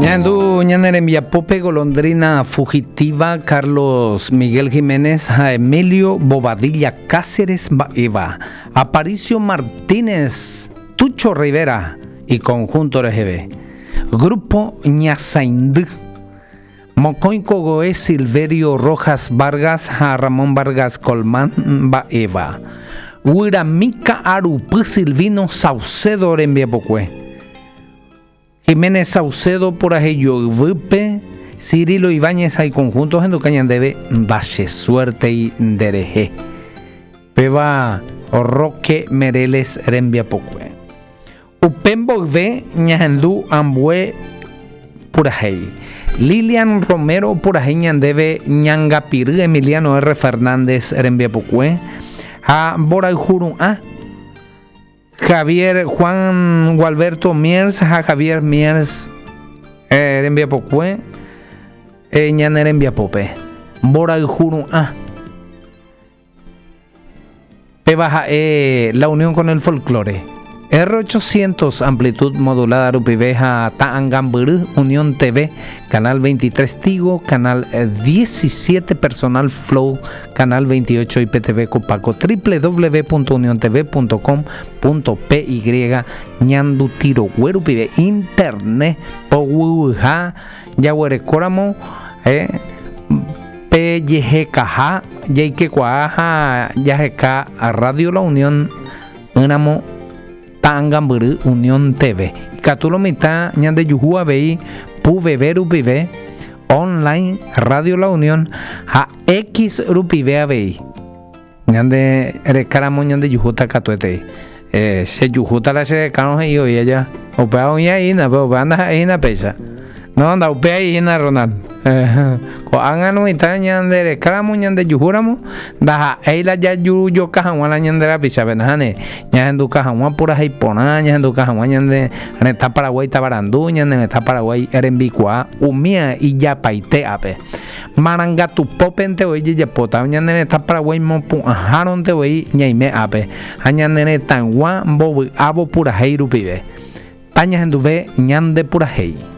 Ñahendu ñane rembiapópe Golondrina Fugitiva, Carlos Miguel Jiménez ha Emilio Bobadilla Cáceres mba'éva, Aparicio Martínez, Tucho Rivera y conjunto reheve. Grupo Ñasaindy. Mokõi kogoe Silverio Rojas Vargas ha Ramón Vargas Colmán mba'éva. Guyrami ka'arupy Silvino Saucedo rembiapokue. Jiménez Saucedo purahéi joyvýpe, Cirilo Ibáñez ha iconjunto ohenduka ñandéve Ndachesuértei nderehe. Péva Roque Mereles rembiapokue. Upe mboyve ñahendu ambue purahéi. Lilian Romero opurahéi ñandéve Ñangapiry Emiliano R. Fernández rembiapokue ha Mborayhuru'ã, Javier Juan Gualberto Miers ha Javier Miers rembiapokue ñane rembiapópe. Mborayhuru'ã. Péva ha'e La Unión con el Folklore. R800 amplitud modulada rupive ha ta'angambyry Unión TV, Canal 23 Tigo, Canal 17 Personal Flow, Canal 28 IPTV Copaco, www.uniontv.com.py Ñanduti rogue rupive Internet poguyha jaguerekóramo eh, Pe jehekaha jaikekuaa ha jaheka Radio La Unión ỹramo ta'angambyry Unión TV. Ikatu lo mitã ñandejuhu avei PUVV rupive, online Radio La Unión ha X rupive avei. Ñande rekáramo ñandejuhúta katuetei. Eh, che juhúta la che rekárõ he'i oĩ aja. Upéva oĩ aína, pero upéva ndaha'éi hína péicha. No, ndaupéai hína Ronald. Eh, ko'ág̃a lo mitã ñande rekáramo ñandejuhúramo, ndaha'éi la jajurujoka hag̃ua la ñande rapichápe, nahániri. Ñahenduka hag̃ua purahéi porã, ñahenduka hag̃ua ñande retã Paraguái tavarandu, ñane retã Paraguái rembikuaa, umía ijapaite ápe. Marangatupópente voi jejapóta, ñane retã Paraguái mopu'ãhárõnte voi ñaime ápe, ha ñane retãygua mbovy'ávo purahéi rupive. Tañahenduve ñande purahéi.